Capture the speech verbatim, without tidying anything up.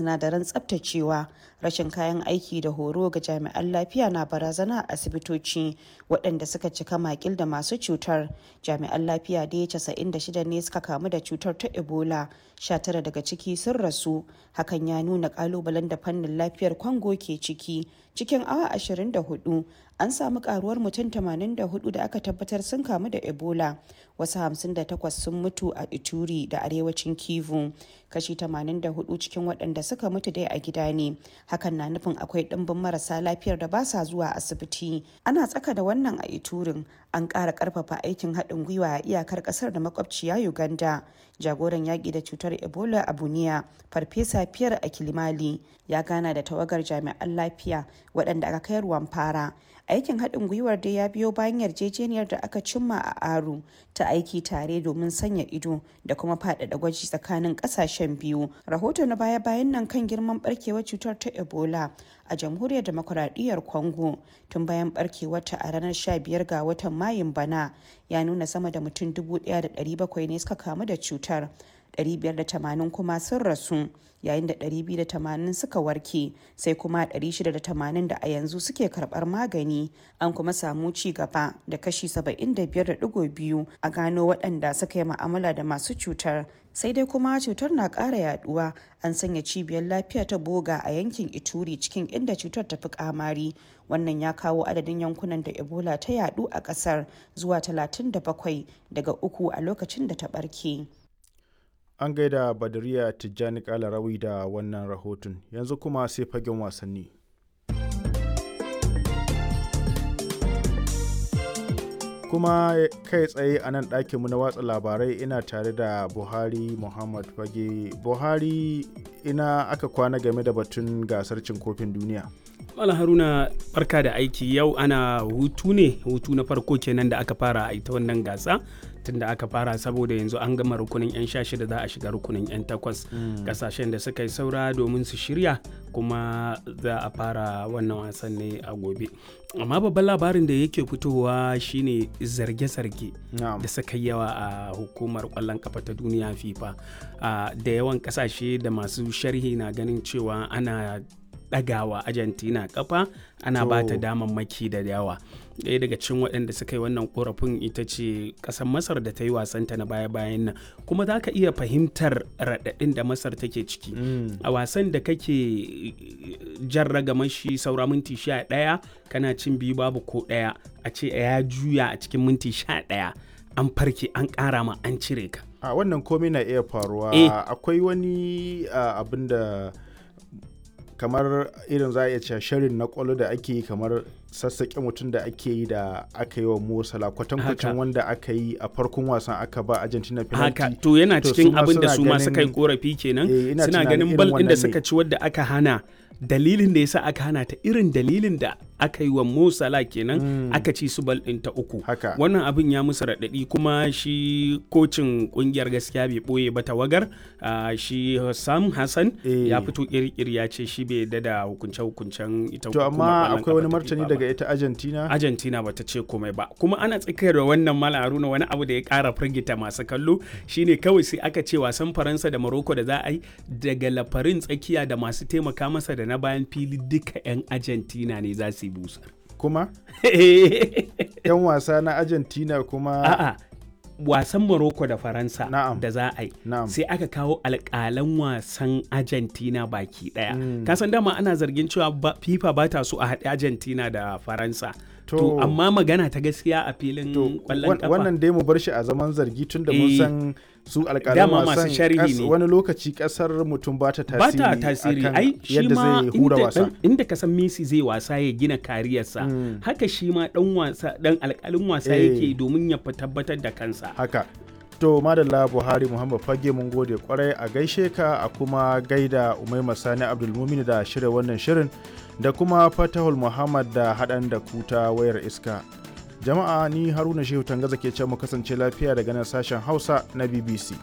Sinadaran tsabtacewa, rashin kayan aiki da horo ga jami'an lafiya na barazana a asibitoci waɗanda suka cika makil da masu cutar. Jami'an lafiya dai casa'in da shida ne suka kamu da cutar ta Ebola, sha tara daga ciki sun rasu. Hakan ya nuna kalubalen da fannin lafiyar Congo ke ciki. Cikin awa ashirin da hudu an samu karuwar mutum tamanin da hudu da aka tabbatar sun kamu da Ebola, wasu hamsin da takwas sun mutu a Ituri da arewacin Kivu. Kashi tamanin da hudu cikin waɗanda suka mutu dai a gida ne. Hakan na nufin akwai ɗimbin marasa lafiyar da ba sa zuwa asibiti. Ana tsaka da wannan a Iturin an ƙara ƙarfafa aikin haɗin gwiwa a iyakar ƙasar da makwabciya Uganda. Jagoran yaƙi da cutar Ebola a Buniya, Farfesa Pierre Akilimali, ya gana da tawagar jami'an lafiya waɗanda aka kai ruwan fara. Aikin haɗin gwiwar dai ya biyo bayan yarjejeniyar da aka cimma a Aru ta aiki tare domin sanya ido da kuma faɗaɗa gwaji tsakanin ƙasashen biyu. Rahoto na baya-bayan nan kan girman barkewar cutar ta Ebola a Jamhuriyar Demokuraɗiyyar Congo tun bayan barkewarta a ranar sha biyar ga watan Mayun bana ya nuna sama da mutum dubu ɗaya da ɗari bakwai ne suka kamu da cutar. ɗari biyar da tamanin kuma sun rasu, yayin da ɗari biyu da tamanin suka warke, sai kuma ɗari shida da tamanin da a yanzu suke karɓar magani. An kuma samu ci gaba da kashi saba'in da biyar da ɗigo biyu a gano waɗanda suka yi ma'amala da masu cutar. Sai dai kuma cutar na ƙara yaduwa. An sanya cibiyar lafiya ta Boga a yankin Ituri cikin inda cutar ta fi kamari. Wannan ya kawo adadin yankunan da Ebola ta yadu a ƙasar zuwa talatin da bakwai daga uku a lokacin da ta ɓarke. An gaida Badariya Tijjani Kalarawi da wannan rahoton. Yanzu kuma sai fagen wasanni. Kuma kai tsaye a nan ɗakinmu na watsa labarai ina tare da Buhari Muhammad Fage. Buhari, ina aka kwana game da batun gasar cin kofin duniya? Malam Haruna, barka da aiki. Yau ana hutu ne, hutu na farko kenan da aka fara a ita wannan gasa tunda aka fara, saboda yanzu an gama rukunin 'yan sha shida, za a shiga rukunin 'yan takwas, kasashen da suka yi saura domin su shirya, kuma za a fara wannan wasan ne a gobe. Amma babban labarin da yake fitowa shine zarge-zarge da suka yi yawa a hukumar kwallon kafa ta duniya FIFA. Da yawan kasashe da masu sharhi na ganin cewa ana ɗagawa Argentina kafa, ana ba ta damammaki da yawa. Ɗaya daga cikin waɗanda suka yi wannan korafin ita ce ƙasar Masar da ta yi wasanta na baya-bayan nan, kuma za ka iya fahimtar raɗaɗin da Masar take ciki a wasan da kake jan ragamar shi saura minti sha ɗaya, kana cin biyu babu ko ɗaya, a ce ya juya a cikin minti sha ɗaya, an farke, an ƙara ma, an cire ka. A wannan komai na iya faruwa. Akwai wani abin da kamar irin za a iya cewa shirin na kwallo da ake yi, kamar sassaƙe mutum da ake yi da aka yi wa Mo Salah, kwatankwacin wanda aka yi a farkon wasan aka ba Argentina penalty. Haka, to yana cikin abin da su ma suka yi korafi kenan. Suna ganin bal ɗin da suka ci wadda aka hana, dalilin da yasa aka hana ta irin dalilin da aka yi wa Mo Salah kenan, mm. aka ci su bal ɗin ta uku. Wannan abin ya musu raɗaɗi, kuma shi kocin ƙungiyar gaskiya bai ɓoye ba, tawagar uh, shi Sam Hassan e. ya fito kirkiri ya ce shi bai yarda da hukunce-hukuncen ita. To amma akwai wani martani daga ita Argentina? Argentina bata ce komai ba. Kuma ana tsakiyar da wannan, Malam Haruna, wani abu da ya ƙara firgita masu kallo shine kawai sai aka ce wasan Faransa da Morocco da za a yi, daga lafarin tsakiya da masu taimaka masa da na bayan fili duka 'yan Argentina ne za su yi busar. Kuma? 'Yan wasa na Argentina kuma? A'a, wasan Morocco da Faransa da za a yi, sai aka kawo alƙalan wasan Argentina baki ɗaya. Mm. Kasan dama ana zargin cewa FIFA ba ta so a haɗe Argentina da Faransa. To, to amma magana ta gaskiya a filin kwallon kafa. Wannan dai mu bar shi a zaman zargi tun da mun san su alƙalan wasan wani lokaci kasar mutum ba ta tasiri. Ba ta tasiri, ai shi ma inda, inda ka san Messi zai wasa ya gina kariyarsa, mm. haka shi ma dan wasa dan alƙalin wasa yake domin ya tabbatar da kansa. Haka. To madalla, Buhari Muhammad Fage, mun gode kwarai, a gaishe ka, a kuma gaida Umaima Sani Abdulmumin da shirya wannan shirin, da kuma Fatahul Muhammad da haɗan da kuta wayar iska. Jama'a, ni Haruna Shehu Tangaza ke ce mu kasance lafiya daga nan sashen Hausa na B B C.